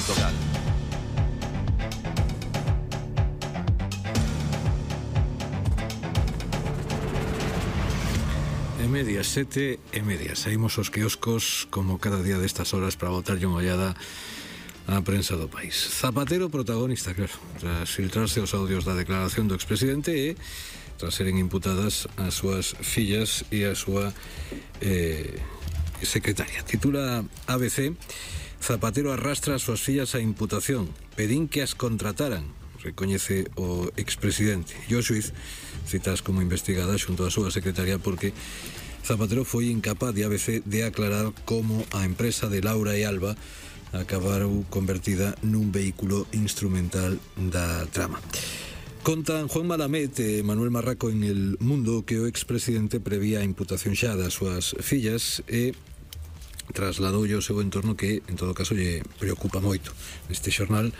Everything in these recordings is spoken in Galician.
Portugal. Medias, 7:30. Saímos aos quioscos como cada día destas horas para botarlle unha ollada á prensa do país. Zapatero protagonista, claro, tras filtrarse os audios da declaración do expresidente e tras seren imputadas as súas fillas e a súa secretaria. Titula ABC: Zapatero arrastra as súas fillas á imputación, pedín que as contrataran, recoñece o expresidente. E o xuiz citas como investigada xunto a súa secretaria porque Zapatero foi incapaz de ABC de aclarar como a empresa de Laura e Alba acabaron convertida nun vehículo instrumental da trama. Contan Juan Malamed e Manuel Marraco en El Mundo que o expresidente prevía a imputación xa das súas fillas e trasladoulle ao seu entorno que, en todo caso, lle preocupa moito. Neste xornal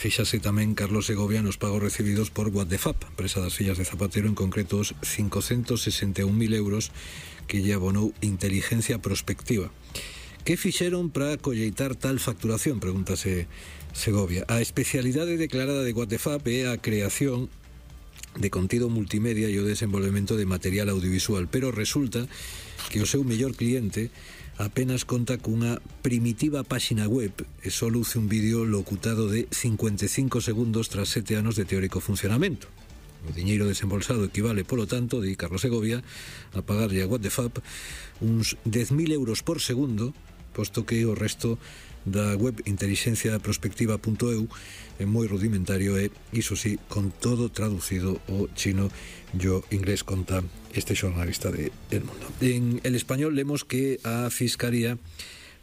fíxase tamén Carlos Segovia nos pagos recibidos por WhatsApp, empresa das fillas de Zapatero, en concreto os 561.000 euros que lle abonou Inteligencia Prospectiva. Que fixeron para colleitar tal facturación? Pregúntase Segovia. A especialidade declarada de WhatsApp é a creación de contido multimedia e o desenvolvemento de material audiovisual, pero resulta que o seu mellor cliente apenas conta cunha primitiva páxina web e só luce un vídeo locutado de 55 segundos tras 7 anos de teórico funcionamento. O diñeiro desembolsado equivale, polo tanto, di Carlos Segovia, a pagarlle a WhatsApp uns 10.000 euros por segundo, posto que o resto da web inteligenciaprospectiva.eu é moi rudimentario e, iso sí, con todo traducido ao chino e o inglés, conta este xornalista de El Mundo. En El Español lemos que a Fiscalía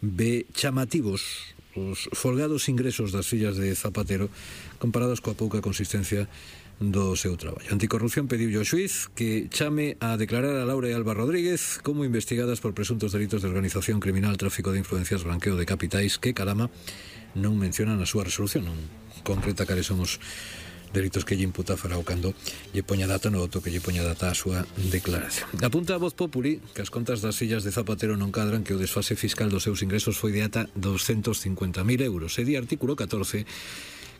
ve chamativos os folgados ingresos das fillas de Zapatero comparados coa pouca consistencia do seu traballo. Anticorrupción pediulle ao xuiz que chame a declarar a Laura e Alba Rodríguez como investigadas por presuntos delitos de organización criminal, tráfico de influencias, blanqueo de capitais, que Calama non menciona na súa resolución, non concreta cales son os delitos que lle imputa Farao cando lle poña data no auto que lle poña data a súa declaración. Apunta a Voz Populi que as contas das fillas de Zapatero non cadran, que o desfase fiscal dos seus ingresos foi de ata 250.000 euros. E di artículo 14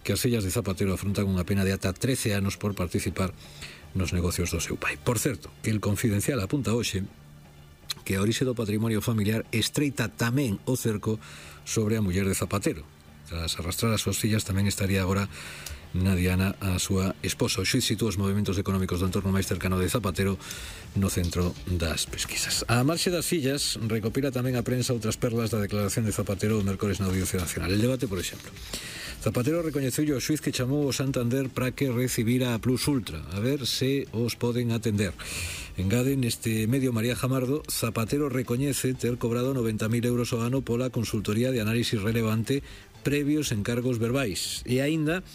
que as fillas de Zapatero afrontan unha pena de ata 13 anos por participar nos negocios do seu pai. Por certo, que El Confidencial apunta hoxe que a orixe do patrimonio familiar estreita tamén o cerco sobre a muller de Zapatero. Tras arrastrar as súas fillas tamén estaría agora na diana a súa esposa. O xuiz sitúa os movimentos económicos do entorno máis cercano de Zapatero no centro das pesquisas. A marxe das fillas, recopila tamén a prensa outras perlas da declaración de Zapatero o mércores na Audiencia Nacional. El debate, por exemplo. Zapatero recoñeceulle ao xuiz que chamou o Santander para que recibira a Plus Ultra, a ver se os poden atender. Engade neste medio María Jamardo, Zapatero recoñece ter cobrado 90.000 euros ao ano pola consultoría de análisis relevante previos encargos verbais. E aínda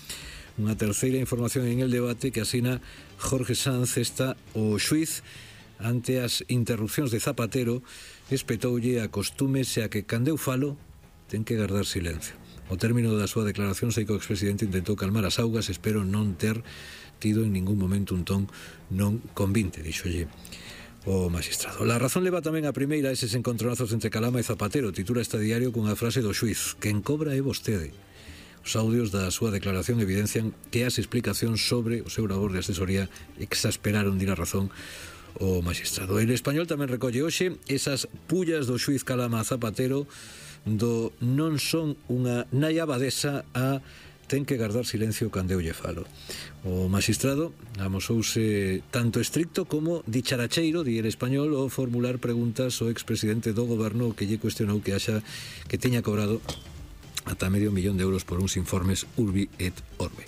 unha terceira información en El Debate que asina Jorge Sanz. Esta o xuiz ante as interrupcións de Zapatero espetoulle, acostúmese a que cando eu falo ten que guardar silencio. Ao término da súa declaración sei que o expresidente intentou calmar as augas, espero non ter tido en ningún momento un ton non convinte, dixolle o magistrado. La Razón leva tamén a primeira eses encontronazos entre Calama e Zapatero. Titula este diario cunha frase do xuiz: quen cobra é vostede. Os audios da súa declaración evidencian que as explicacións sobre o seu labor de asesoría exasperaron, di La Razón, o magistrado. El Español tamén recolle hoxe esas pullas do xuiz Calama a Zapatero do non son unha nai abadesa a ten que guardar silencio cando eu lle falo. O magistrado amosouse tanto estricto como dicharacheiro, di El Español, ao formular preguntas ao expresidente do goberno que lle cuestionou que teña cobrado ata $500.000 de euros por uns informes Urbi et Orbe.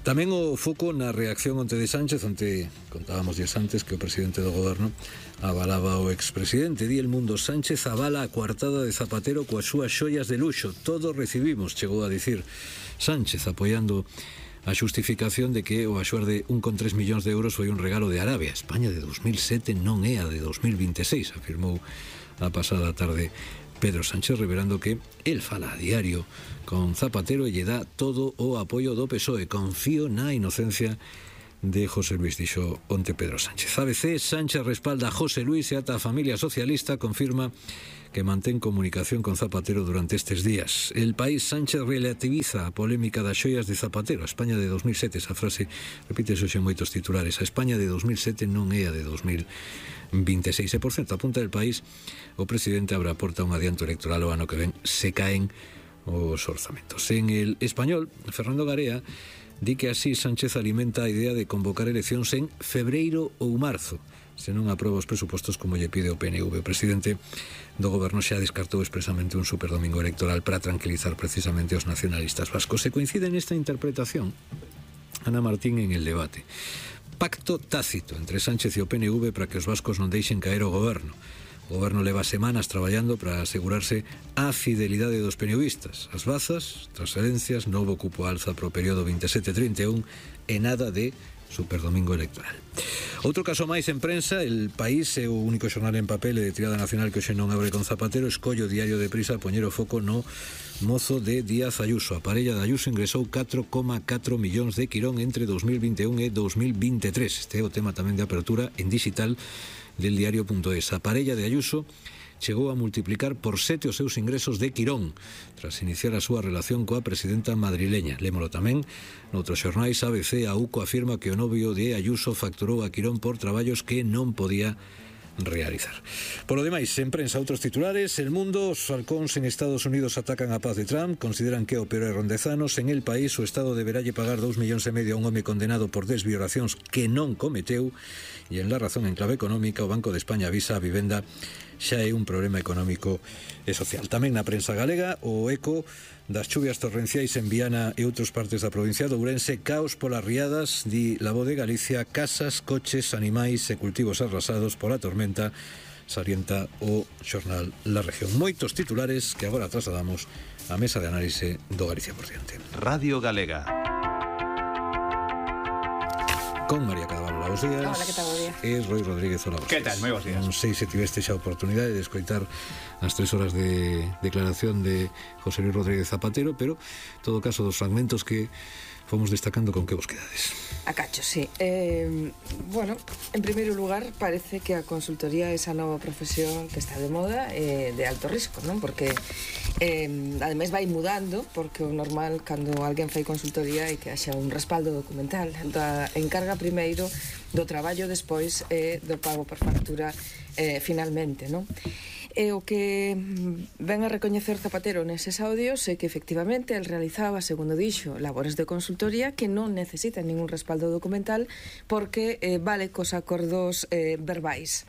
Tamén o foco na reacción onte de Sánchez, onte contábamos días antes que o presidente do goberno avalaba o expresidente. Di El Mundo: Sánchez avala a coartada de Zapatero coas súas xoias de luxo. Todo recibimos, chegou a dicir Sánchez, apoiando a xustificación de que o axuar de 1,3 millóns de euros foi un regalo de Arabia. España de 2007 non é a de 2026, afirmou a pasada tarde Pedro Sánchez, revelando que el fala a diario con Zapatero e lle dá todo o apoio do PSOE. Confío na inocencia de José Luis, dixo onte Pedro Sánchez. ABC, Sánchez respalda a José Luis e ata a familia socialista confirma que mantén comunicación con Zapatero durante estes días. El País, Sánchez relativiza a polémica das xoias de Zapatero. A España de 2007, esa frase repítese hoxe en moitos titulares. A España de 2007 non é a de 2026. E, por certo, apunta El País, o presidente abre a porta un adianto electoral o ano que ven se caen os orzamentos. En El Español, Fernando Garea di que así Sánchez alimenta a idea de convocar eleccións en febreiro ou marzo, se non aproba os presupostos como lle pide o PNV. O presidente do goberno xa descartou expresamente un superdomingo electoral para tranquilizar precisamente os nacionalistas vascos. Se coincide nesta interpretación Ana Martín en El Debate. Pacto tácito entre Sánchez e o PNV para que os vascos non deixen caer o goberno. O goberno leva semanas traballando para asegurarse a fidelidade dos PNVistas. As bazas, transferencias, novo cupo alza pro período 27-31 e nada de superdomingo electoral. Outro caso máis en prensa, El País é o único xornal en papel e de tirada nacional que hoxe non abre con Zapatero. Escollo o Diario de Prisa a poñer o foco no mozo de Díaz Ayuso. A parella de Ayuso ingresou 4,4 millóns de quirón entre 2021 e 2023. Este é o tema tamén de apertura en digital del diario.es. A parella de Ayuso chegou a multiplicar por 7 os seus ingresos de quirón tras iniciar a súa relación coa presidenta madrileña. Lémolo tamén noutros xornais. ABC, a UCO afirma que o novio de Ayuso facturou a quirón por traballos que non podía realizar. Por lo demais, en prensa, outros titulares. El Mundo, os halcóns en Estados Unidos atacan a paz de Trump, consideran que é o peor erro en 10 anos. En El País, o Estado deberá pagar 2,5 millóns a un home condenado por desviolacións que non cometeu. E en La Razón, en clave económica, o Banco de España avisa a vivenda xa é un problema económico e social. Tamén na prensa galega, o eco das chuvias torrenciais en Viana e outras partes da provincia de Ourense, caos polas riadas, di La Voz de Galicia, casas, coches, animais e cultivos arrasados pola tormenta, salienta o xornal La Región. Moitos titulares que agora trasladamos á mesa de análise do Galicia por diante. Radio Galega. Con María Cadaval, bons días. Hola, que tal, bo día. E Roi Rodríguez, hola, bons días. Que tal, moi bons días. Non sei se tiveste xa a oportunidade de escoitar as 3 horas de declaración de José Luis Rodríguez Zapatero, pero, en todo caso, dos fragmentos que fomos destacando, con que vos quedades? A cacho, sí. Bueno, en primeiro lugar, parece que a consultoría é esa nova profesión que está de moda de alto risco, non? Porque ademais vai mudando, porque o normal cando alguén fai consultoría é que haxa un respaldo documental da encarga primeiro, do traballo despois e do pago por factura finalmente, non? E o que ven a recoñecer Zapatero neses audios é que efectivamente el realizaba, segundo dixo, labores de consultoría que non necesitan ningún respaldo documental porque vale cos acordos verbais.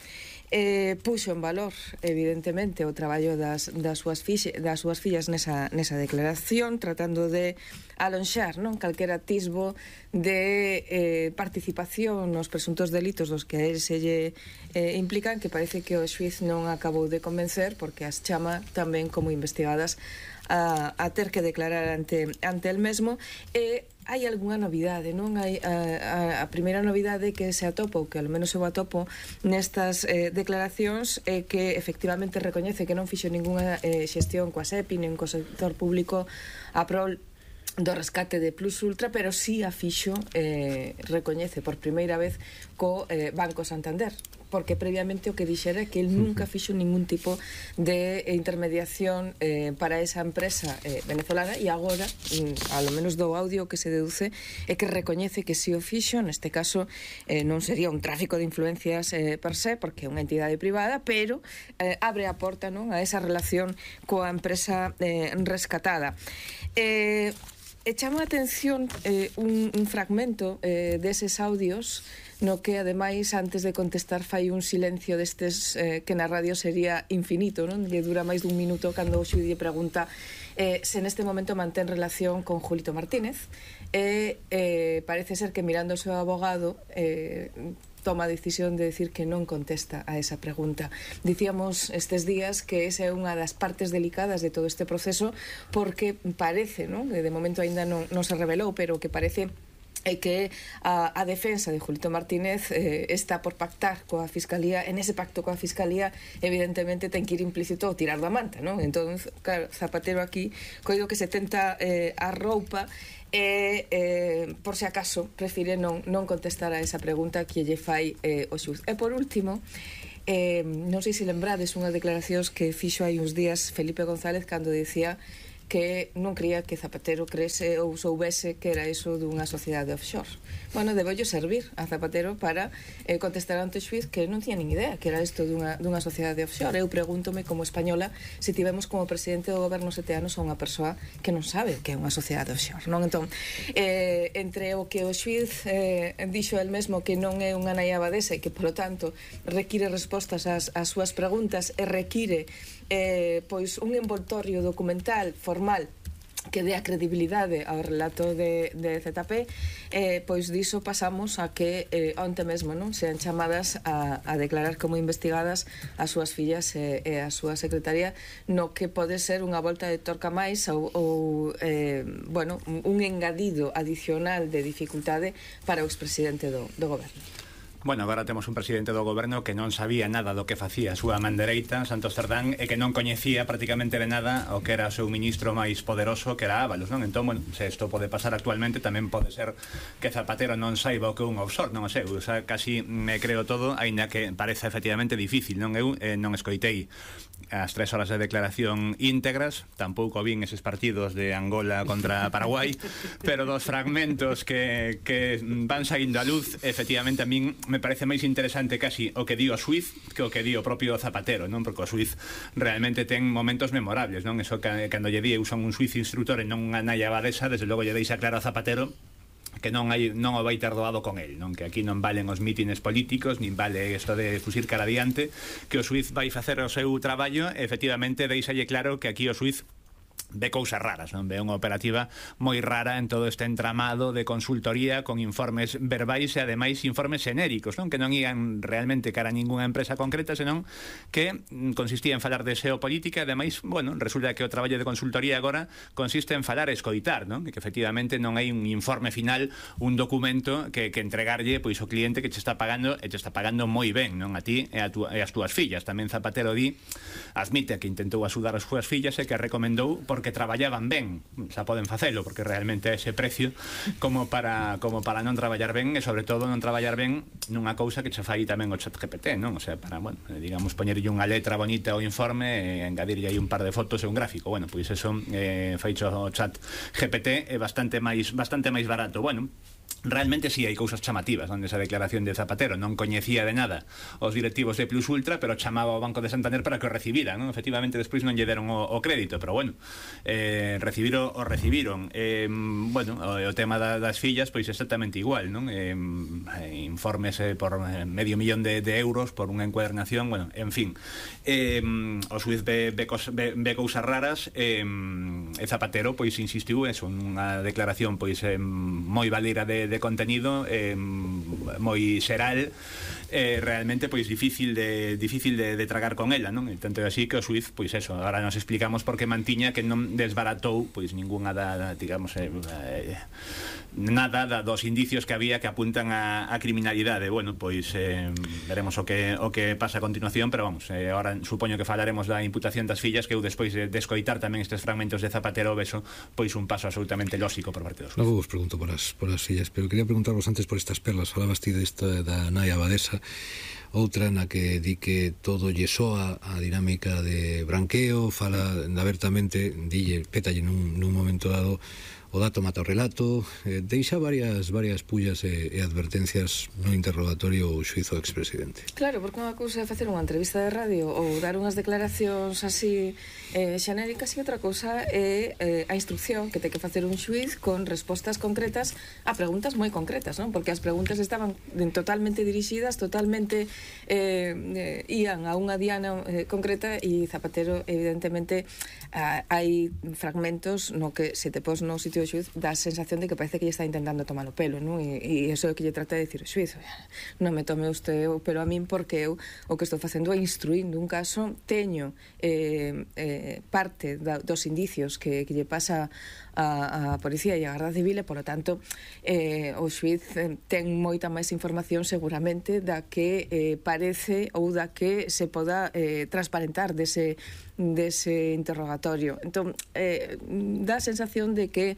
Puxo en valor, evidentemente, o traballo das súas fillas nesa declaración, tratando de alonxar, non, calquera atisbo de participación nos presuntos delitos dos que a él se lle implican, que parece que o xuiz non acabou de convencer, porque as chama tamén como investigadas a ter que declarar ante el mesmo. E hai algunha novidade, non? Hai a primeira novidade que se atopa, ou que ao menos eu atopo nestas declaracións, é que efectivamente recoñece que non fixo ningunha xestión coa SEPI nin co sector público a prol do rescate de Plus Ultra, pero sí a fixo, recoñece por primeira vez co Banco Santander, porque previamente o que dixera é que el nunca fixo ningún tipo de intermediación para esa empresa venezolana, e agora, ao menos do audio que se deduce, é que recoñece que si o fixo. Neste caso non sería un tráfico de influencias per se, porque é unha entidade privada, pero abre a porta, non, a esa relación coa empresa rescatada. E chama a atención un fragmento deses audios no que, ademais, antes de contestar fai un silencio destes que na radio sería infinito, non? Lle dura máis dun minuto cando o xuiz lle pregunta se neste momento mantén relación con Julito Martínez, e parece ser que, mirando o seu abogado, toma a decisión de decir que non contesta a esa pregunta. Dicíamos estes días que esa é unha das partes delicadas de todo este proceso, porque parece, non, que de momento aínda non se revelou, pero que parece é que a defensa de Julito Martínez está por pactar coa Fiscalía, en ese pacto coa Fiscalía evidentemente ten que ir implícito o tirar da manta, non? Entón, claro, Zapatero aquí coido que se tenta a roupa e, por se acaso, prefire non contestar a esa pregunta que lle fai o xuiz. E por último, non sei se lembrades unhas declaracións que fixo hai uns días Felipe González cando dicía que non creía que Zapatero crese ou soubese que era iso dunha sociedade offshore. Bueno, debello servir a Zapatero para contestar ante o xuiz que non tiña nin idea que era isto dunha sociedade offshore. Eu pregúntome como española se tivemos como presidente do goberno 7 anos a unha persoa que non sabe que é unha sociedade offshore, non? Entón, entre o que o xuiz dixo el mesmo que non é unha nai abadesa e que, polo tanto, require respostas ás súas preguntas e require pois un envoltorio documental formal que dé a credibilidade ao relato de ZP, pois diso pasamos a que onte mesmo non sean chamadas a declarar como investigadas as súas fillas e a súa secretaria, no que pode ser unha volta de torca máis ou bueno, un engadido adicional de dificultade para o expresidente do goberno. Bueno, agora temos un presidente do goberno que non sabía nada do que facía a súa man dereita, Santos Cerdán, e que non coñecía prácticamente de nada o que era o seu ministro máis poderoso, que era Ábalos, non? Entón, bueno, se isto pode pasar actualmente, tamén pode ser que Zapatero non saiba o que é un offshore, non o sei, o sea, casi me creo todo, aínda que parece efectivamente difícil, non? Eu non escoitei as 3 horas de declaración íntegras, tampouco vin eses partidos de Angola contra Paraguai, pero dos fragmentos que van saindo a luz, efectivamente a min me parece máis interesante casi o que di o xuiz que o que di o propio Zapatero, non? Porque o xuiz realmente ten momentos memorables, non? Eso que cando lle di eu son un xuiz instructor e non unha nai abadesa, desde logo lle deixa claro a Zapatero que non o vai ter doado con el, non? Que aquí non valen os mítines políticos, nin vale isto de fusir cara adiante, que o xuiz vai facer o seu traballo, efectivamente deixalle claro que aquí o xuiz ve cousas raras, non? Ve unha operativa moi rara en todo este entramado de consultoría con informes verbais e ademais informes xenéricos, non? Que non ian realmente cara a ningunha empresa concreta, senón que consistía en falar de xeopolítica e ademais, bueno, resulta que o traballo de consultoría agora consiste en falar e escoitar, non? Que efectivamente non hai un informe final, un documento que entregarlle pois o cliente que che está pagando e che está pagando moi ben, non? A ti e as túas fillas. Tamén Zapatero admite que intentou axudar as súas fillas e que recomendou porque traballaban ben, xa poden facelo porque realmente é ese precio como para non traballar ben e sobre todo non traballar ben nunha cousa que che fai tamén o ChatGPT, non? O sea, para, bueno, digamos, poñerlle unha letra bonita ao informe e engadirlle aí un par de fotos e un gráfico. Bueno, pois eso feicho o ChatGPT é bastante máis barato. Bueno, realmente sí hai cousas chamativas onde esa declaración de Zapatero non coñecía de nada os directivos de Plus Ultra, pero chamaba ao Banco de Santander para que o recibiran, non? Efectivamente despois non lle deron o crédito, pero bueno, recibiron. Bueno, o tema das fillas pois exactamente igual, non? Informes por medio millón de euros por unha encuadernación, bueno, en fin, o xuiz ve cousas raras e Zapatero pois insistiu eso, unha declaración pois moi valera de contenido, moi xeral, realmente pois difícil de tragar con ela, non? E tanto é así que o xuiz, pois eso, agora nos explicamos por que mantiña que non desbaratou pois ningunha digamos, nada dos indicios que había que apuntan a criminalidade. Bueno, pois veremos o que pasa a continuación, pero vamos, agora supoño que falaremos da imputación das fillas, que eu despois de escoitar tamén estes fragmentos de Zapatero beso pois un paso absolutamente lóxico por parte dos xuiz. Logo vos pregunto por as fillas, pero quería preguntarvos antes por estas perlas. Falabas ti desta da nai abadesa, outra na que di que todo lle soa a dinámica de branqueo, fala abertamente, pétalle nun momento dado o dato mata o relato, deixa varias pullas e advertencias no interrogatorio o xuizo do expresidente. Claro, porque unha cousa é facer unha entrevista de radio ou dar unhas declaracións así xenéricas, e outra cousa é a instrucción que ten que facer un xuiz con respostas concretas a preguntas moi concretas, non? Porque as preguntas estaban totalmente dirixidas, totalmente ían a unha diana concreta, e Zapatero evidentemente hai fragmentos no que se te pos no sitio do xuiz dá a sensación de que parece que lle está intentando tomar o pelo, non? E iso é o que lle trata de dicir o xuiz. Non me tome usted o pelo a min, porque eu o que estou facendo é instruindo un caso, teño parte dos indicios que lle pasa a Policía e a Garda Civil, e, polo tanto, o xuiz ten moita máis información seguramente da que parece ou da que se poda transparentar dese interrogatorio. Entón, dá a sensación de que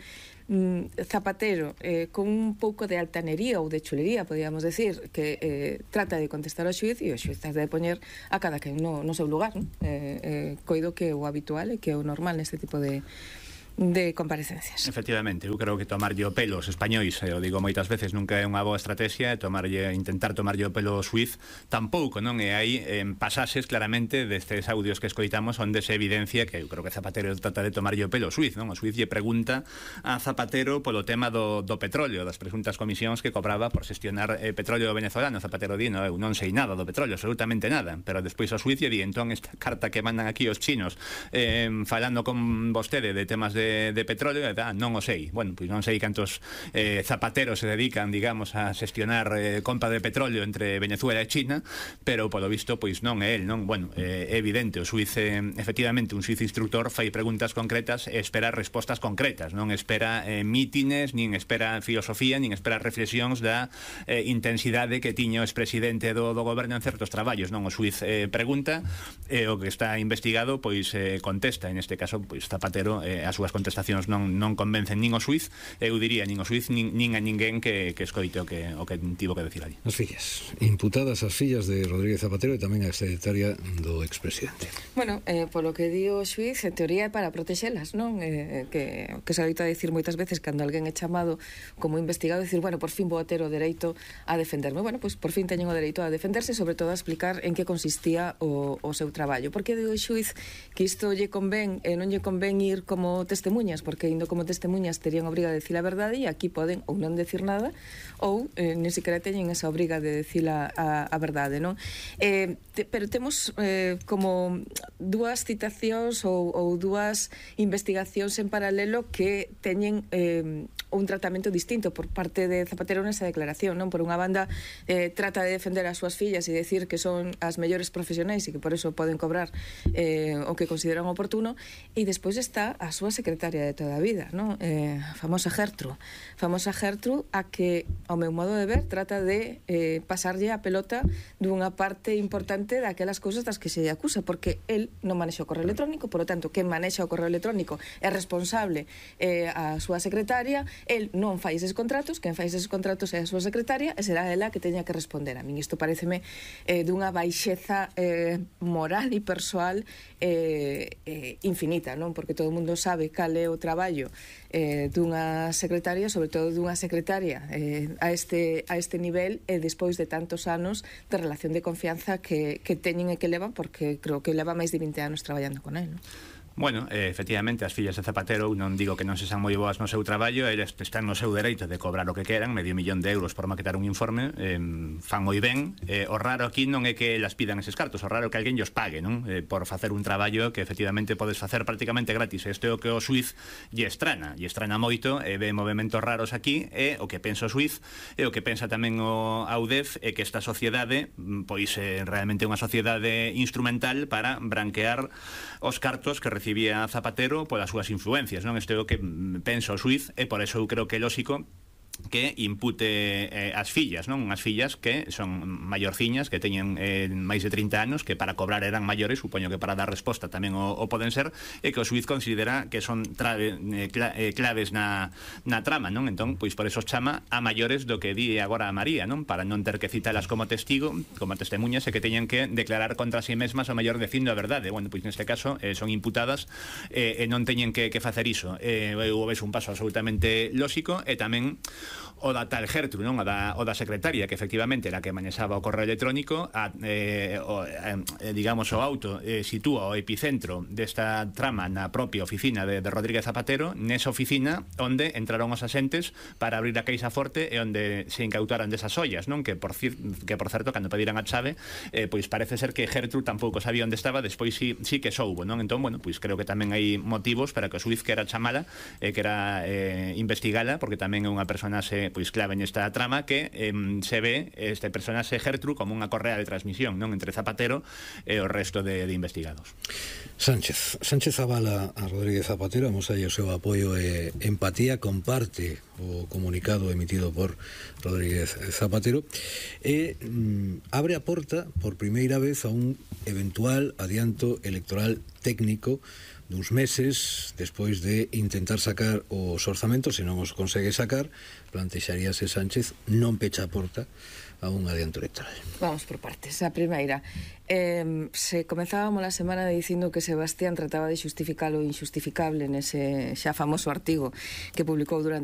Zapatero, con un pouco de altanería ou de chulería, podíamos decir, que trata de contestar ao xuiz, e o xuiz trata de poñer a cada quen no seu lugar, non? Coido que o habitual e que o normal neste tipo de comparecencias. Efectivamente, eu creo que tomarlle o pelo aos españois, o digo moitas veces, nunca é unha boa estrategia, intentar tomarlle o pelo ao xuiz tampouco, non? E hai pasaxes claramente destes audios que escoitamos onde se evidencia que eu creo que Zapatero trata de tomarlle o pelo ao xuiz, non? O xuiz lle pregunta a Zapatero polo tema do petróleo, das presuntas comisións que cobraba por xestionar petróleo venezolano. Zapatero di, eu non sei nada do petróleo, absolutamente nada, pero despois o xuiz lle di, entón esta carta que mandan aquí os chinos falando con vostede de temas de petróleo, non o sei. Bueno, pois non sei cantos zapateros se dedican, digamos, a xestionar compra de petróleo entre Venezuela e China, pero polo visto, pois non é el, non? Bueno, é evidente, o xuiz, efectivamente, un xuiz instructor fai preguntas concretas e espera respostas concretas, non espera mítines, nin espera filosofía, nin espera reflexións da intensidade que tiña o expresidente do goberno en certos traballos, non? O xuiz pregunta e o que está investigado, pois contesta. En este caso, pois Zapatero, as súas contestacións non convencen nin o xuiz, eu diría nin o xuiz nin a ninguén que escoite o que tivo que decir ali. As fillas, imputadas as fillas de Rodríguez Zapatero e tamén a secretaria do expresidente. Bueno, polo que di o xuiz, en teoría é para protexelas, non? Que se adoita a dicir moitas veces cando alguén é chamado como investigado, dicir, bueno, por fin vou ter o dereito a defenderme. Bueno, pois por fin teñen o dereito a defenderse, sobre todo a explicar en que consistía o seu traballo. Porque di o xuiz que isto lle convén e non lle convén ir como testemunhas, porque indo como testemunhas terían obriga de decir a verdade, e aquí poden ou non decir nada ou nin siquiera teñen esa obriga de decir a verdade, non? Pero temos como dúas citacións ou dúas investigacións en paralelo que teñen un tratamento distinto por parte de Zapatero nesa declaración, non? Por unha banda, trata de defender as súas fillas e decir que son as mellores profesionais e que por eso poden cobrar o que consideran oportuno, e despois está a súa secretaria de toda a vida, non? Famosa Gertrude, a que, ao meu modo de ver, trata de pasarlle a pelota dunha parte importante daquelas cousas das que se lle acusa, porque el non manexa o correo electrónico, por lo tanto, quen manexa o correo electrónico é responsable a súa secretaria, el non fai eses contratos, quen fai eses contratos é a súa secretaria, e será ela que teña que responder. A min isto pareceme dunha baixeza moral e persoal infinita, non? Porque todo o mundo sabe cal é o traballo dunha secretaria, sobre todo dunha secretaria a este nivel, e despois de tantos anos de relación de confianza que teñen e que levan, porque creo que leva máis de 20 anos traballando con el, non? Bueno, efectivamente, as fillas de Zapatero, non digo que non se san moi boas no seu traballo, eles están no seu dereito de cobrar o que queran, $500,000 por maquetar un informe, fan moi ben. O raro aquí non é que elas pidan eses cartos, o raro é que alguén llos pague, non? Por facer un traballo que efectivamente podes facer prácticamente gratis. Este é o que o xuiz lle estrana moito, e ve movementos raros aquí, e o que pensa o xuiz, e o que pensa tamén o AUDEF, é que esta sociedade, pois realmente é unha sociedade instrumental para branquear os cartos que recibía Zapatero polas súas influencias, non? Isto é o que pensa o xuiz, e por eso eu creo que é lóxico que impute as fillas, non? As fillas que son maiorciñas, que teñen máis de 30 anos, que para cobrar eran maiores, supoño que para dar resposta tamén o poden ser, e que o xuiz considera que son claves na trama, non? Entón, pois por eso chama a maiores do que di agora a María, non? Para non ter que citalas como testigo, como testemuñas, e que teñan que declarar contra si mesmas o maior dicindo a verdade. Bueno, pois neste caso son imputadas e non teñen que facer iso. Eu ves un paso absolutamente lóxico, e tamén o da tal Gertrude, non? O da secretaria, que efectivamente era que manexaba o correo electrónico, digamos, o auto sitúa o epicentro desta trama na propia oficina de Rodríguez Zapatero, nesa oficina onde entraron os axentes para abrir a caixa forte e onde se incautaran desas ollas, non? Que por certo, cando pediran a chave, pois parece ser que Gertrude tampouco sabía onde estaba, despois sí que soubo, non? Entón, bueno, pois creo que tamén hai motivos para que o xuiz quera chamala, que era investigala, porque tamén é unha persona personaxe pois clave nesta trama, que se ve este personaxe Gertrude como unha correa de transmisión, non, entre Zapatero e o resto de investigados. Sánchez avala a Rodríguez Zapatero, amosalle o seu apoio e empatía, comparte o comunicado emitido por Rodríguez Zapatero e abre a porta por primeira vez a un eventual adianto electoral técnico duns meses despois de intentar sacar os orzamentos. Se non os consegue sacar, plantexaríase Sánchez non pecha a porta a un adianto electoral. Vamos por partes. A primeira, se comenzábamos a semana dicindo que Sebastián trataba de xustificar o injustificable nese xa famoso artigo que publicou durante